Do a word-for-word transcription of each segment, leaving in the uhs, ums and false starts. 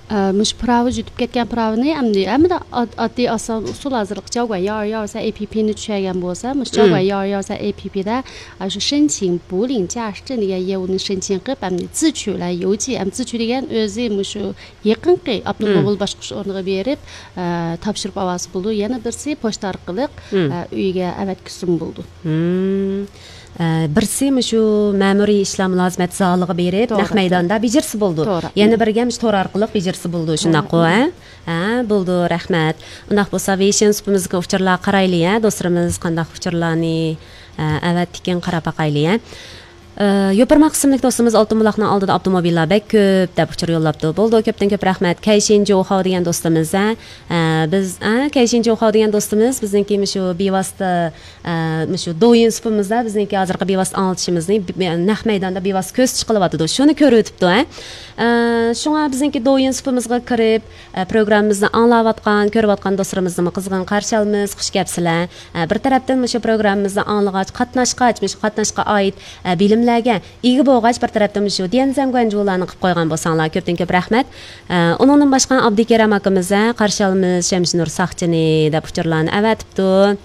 ئە، مۇشۇ پىراۋا يۈتۈپ كەتكەن پىراۋىنى ئەمدى ھەممىدە ئاد-، ئاددىي ئاسان ئۇسۇل ھازىرلىقى جاۋگۈەن ياۋ ياۋ سە ئېپىپىنى چۈشەنگەن بولسا، مۇشۇ جاۋگۈەن ياۋ ياۋ سە ئېپىپىدە شۇ شېنچىڭ بۇلىڭ جياش جېن دېگەن يەرنى شېنچىڭ قىلىپ، ئەمدى زىچۈ لەن يوجى، ئەمدى زىچۈ دېگەن ئۆزى مۇشۇ يېقىنقى ئاپتونوم رايون باشقۇرۇش ئورنىغا بېرىپ، ئە، تاپشۇرۇپ ئالغان بولىدۇ. يەنە بىرسى پوچتا ئارقىلىق، ئە، ئۆيگە ئەۋەتكۈزسىمۇ بولىدۇ. ئە، بىرسى مۇشۇ مەمۇرىي ئىشلار مۇلازىمەت زالىغا بېرىپ، نەق مەيداندا بېجىرسە بولىدۇ. يەنە بىرگە مۇشۇ تور ئارقىلىق بېجىرسە بولىدۇ، شۇنداققۇ، ھە؟ ھە، بولىدۇ، رەھمەت. ئۇنداق بولسا، ۋېيشىن سۇپىمىزدىكى ئۇچۇرلارغا قارايلى، ھە، دوستلىرىمىز قانداق ئۇچۇرلارنى، ئە، ئەۋەتتىكىن، قاراپ باقايلى، ھە. ئە، يوپۇرماق ئىسىملىك دوستىمىز ئالتۇن بۇلاقنىڭ ئالدىدا ئاپتوموبىللار بەك كۆپ دەپ ئۇچۇر يوللاپتۇ. بولىدۇ، كۆپتىن كۆپ رەھمەت. كەيشىن جوخاۋ دېگەن دوستىمىز، ھە، ئە، بىز، ئە، كەيشىن جوخاۋ دېگەن دوستىمىز بىزنىڭكى مۇشۇ بىۋاسىتە، ئە، مۇشۇ دويىن سۇپىمىزدا بىزنىڭكى ھازىرقى بىۋاسىتە ئاڭلىتىشىمىزنى بى-، نەق مەيداندا بىۋاسىتە كۆرسىتىش قىلىۋاتىدۇ. شۇنى كۆرۈۋېتىپتۇ، ھە. ئە، شۇڭا بىزنىڭكى دويىن سۇپىمىزغا كىرىپ، ئە، پروگراممىمىزنى ئاڭلاۋاتقان، كۆرۈۋاتقان دوستلىرىمىزنىمۇ قىزغىن قارشى ئالىمىز، خۇش كەپسىلەر. ئە، بىر تەرەپتىن مۇشۇ پروگراممىمىزنى ئاڭلىغاچ، قاتناشقاچ، مۇشۇ قاتناشقا ئائىت، ئە، بىلىملەرگە ئىگە بولغاچ، بىر تەرەپتىن مۇشۇ ديەنزەن گۇەنجۇلارنى قىلىپ قويغان بولساڭلار، كۆپتىن كۆپ رەھمەت. ئە، ئۇنىڭدىن باشقا ئابدۇكېرەم ئاكىمىز، ھە، قارشى ئالىمىز شەمشىنۇر ساقچىنى دەپ ئۇچۇرلارنى ئەۋەتىپتۇ.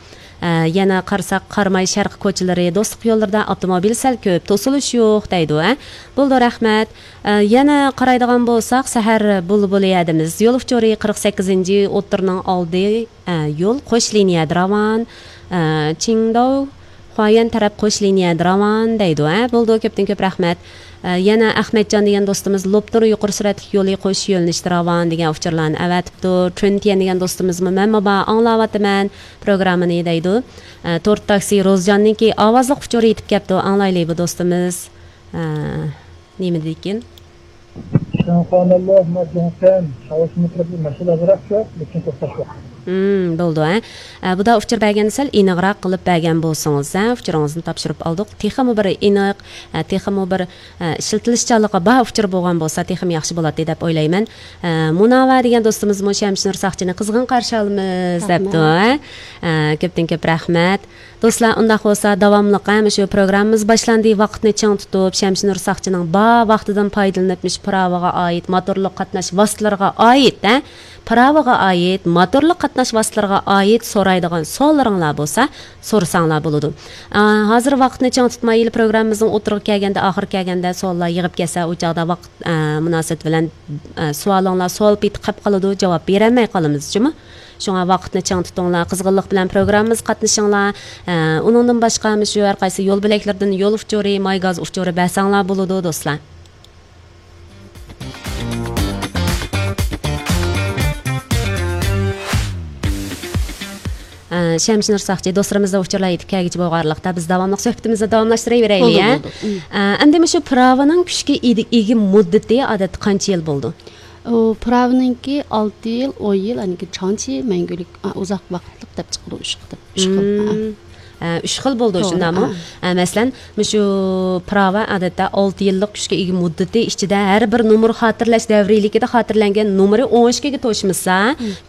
ئە، يەنە قارىساق، قاراماي شەرقىي كوچىلىرى، دوستلۇق يوللىرىدا ئاپتوموبىل سەل كۆپ، توسۇلۇش يوق دەيدۇ، ھە. بولىدۇ، رەھمەت. ئە، يەنە قارايدىغان بولساق، سەھەر بۇلبۇلى ھەدىمىز يول ئۇچۇرى قىرىق سەككىزىنچى ئوتتۇرىنىڭ ئالدى، ئە، يول قوش لىنىيەدە راۋان، ئە، چىڭداۋ، خۇايۈەن تەرەپ قوش لىنىيەدە راۋان دەيدۇ، ھە. بولىدۇ، كۆپتىن كۆپ رەھمەت. ئە، يەنە ئەخمەتجان دېگەن دوستىمىز لوپنۇر يۇقىرى سۈرئەتلىك يولى قوش يۆنىلىشتە راۋان دېگەن ئۇچۇرلارنى ئەۋەتىپتۇ. ترېنتيەن دېگەن دوستىمىزمۇ مەنمۇ بار، ئاڭلاۋاتىمەن پروگراممىنى دەيدۇ. ئە، تورت تاكسى روزجاننىڭكى ئاۋازلىق ئۇچۇرى يېتىپ كەپتۇ، ئاڭلايلى بۇ دوستىمىز. ئە، نېمە دېدىكىن؟ شۇڭخاناللا ما جۇڭسەن، شاۋشىمىترىپ مەشغۇل ئازراق كۆپ، لېكىن توختاش يوق. ھىم، بولىدۇ، ھە. ئە، بۇدا ئۇچۇر بەرگەندە سەل ئېنىقراق قىلىپ بەرگەن بولسىڭىز، ھە، ئۇچۇرىڭىزنى تاپشۇرۇپ ئالدۇق. تېخىمۇ بىر ئېنىق، ئە، تېخىمۇ بىر، ئە، ئىشلىتىلىشچانلىقى بار ئۇچۇر بولغان بولسا، تېخىمۇ ياخشى بولاتتى دەپ ئويلايمەن. ئە، مۇناۋا دېگەن دوستىمىزمۇ شەمشىنۇر ساقچىنى قىزغىن قارشى ئالىمىز دەپتۇ، ھە. ئە، كۆپتىن كۆپ رەھمەت. دوستلار، ئۇنداق بولسا داۋاملىق، ھە، مۇشۇ پروگراممىمىز باشلاندى. ۋاقىتنى چىڭ تۇتۇپ، شەمشىنۇر ساقچىنىڭ بار ۋاقتىدىن پايدىلىنىپ، مۇشۇ پىراۋىغا ئائىت، موتورلۇق قاتناش ۋاسىتىلىرىغا ئائىت، ھە، پىراۋىغا ئائىت، موتورلۇق قاتناش ۋاسىتىلىرىغا ئائىت سورايدىغان سوئاللىرىڭلار بولسا، سورىساڭلار بولىدۇ. ئا، ھازىر ۋاقىتنى چىڭ تۇتمايلى، پروگراممىمىزنىڭ ئوتتۇرىغا كەلگەندە، ئاخىرى كەلگەندە سوئاللار يىغىپ كەتسە، ئۇ چاغدا ۋاقىت، ئا، مۇناسىۋىتى بىلەن، ئا، سوئالىڭلار سوئال پېتى قېلىپ قالىدۇ، جاۋاب بېرەلمەي قالىمىز، جۇمۇ. شۇڭا ۋاقىتنى چىڭ تۇتۇڭلار، قىزغىنلىق بىلەن پروگراممىمىزغا قاتنىشىڭلار. ئە، ئۇنىڭدىن باشقا، مۇشۇ ھەر قايسى يول بۆلەكلىرىدىن يول ئۇچۇرى، ماي گاز ئۇچۇرى بەرسەڭلار بولىدۇ، دوستلار. ئە، شەمشىنۇر ساقچى، دوستلىرىمىزدا ئۇچۇرلار يېتىپ كەلگۈچە بولغانلىقتا، بىز داۋاملىق سۆھبىتىمىزنى داۋاملاشتۇرۇۋېرەيلى، بولدى، ھە؟ بولدى. ئە، ئەمدى مۇشۇ پىراۋىنىڭ كۈچكە ئىدى-، ئىگە مۇددىتى ئادەتتە قانچە يىل بولىدۇ؟ ئۇ پىراۋىنىڭكى ئالتە يىل، ئون يىل، ئانىڭكى چاڭچى مەڭگۈلۈك، ئا، ئۇزاق ۋاقىتلىق دەپ چىقىدۇ، ئۈچ خىل. ئۈچ خىل، ھە. ئە، ئۈچ خىل بولىدۇ، توغرا، شۇنداقمۇ؟ ئە، مەسىلەن، مۇشۇ پىراۋا ئادەتتە ئالتە يىللىق كۈچكە ئىگە مۇددىتى ئىچىدە ھەر بىر نومۇر خاتىرىلەش دەۋرىيلىكىدە خاتىرىلەنگەن نومۇرى ئون ئىككىگە توشمىسا،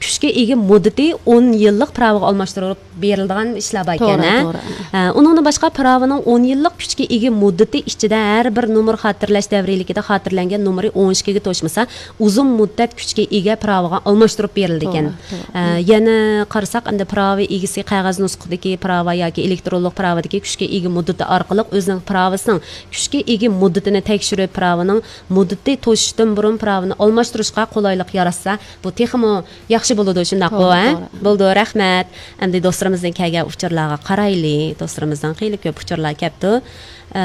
كۈچكە ئىگە مۇددىتى ئون يىللىق پىراۋىغا ئالماشتۇرۇپ بېرىلىدىغان ئىشلار بار ئىكەن، توغرا، ھە؟ توغرا. ئە، ئۇنىڭدىن باشقا پىراۋىنىڭ ئون يىللىق كۈچكە ئىگە مۇددىتى ئىچىدە ھەر بىر نومۇر خاتىرىلەش دەۋرىيلىكىدە خاتىرىلەنگەن نومۇرى ئون ئىككىگە توشمىسا، ئۇزۇن مۇددەت كۈچكە ئىگە پىراۋىغا ئالماشتۇرۇپ بېرىلىدىكەن. توغرا، توغرا. ئە، يەنە قارىساق، ئەمدى پىراۋا ئىگىسى قەغەز نۇسخىدىكى پىراۋا ياكى ئېلېكترونلۇق پىراۋىدىكى كۈچكە ئىگە مۇددىتى ئارقىلىق ئۆزىنىڭ پىراۋىسىنىڭ كۈچكە ئىگە مۇددىتىنى تەكشۈرۈپ، پىراۋىنىڭ مۇددىتى توشۇشتىن بۇرۇن پىراۋىنى ئالماشتۇرۇشقا قولايلىق ياراتسا، بۇ تېخىمۇ ياخشى بولىدۇ، شۇنداققۇ، توغرا، ھە؟ توغرا. بولىدۇ، رەھمەت. ئەمدى دوستلىرىمىزدىن كەلگەن ئۇچۇرلارغا قارايلى. دوستلىرىمىزدىن خېلى كۆپ ئۇچۇرلار كەپتۇ. ئە،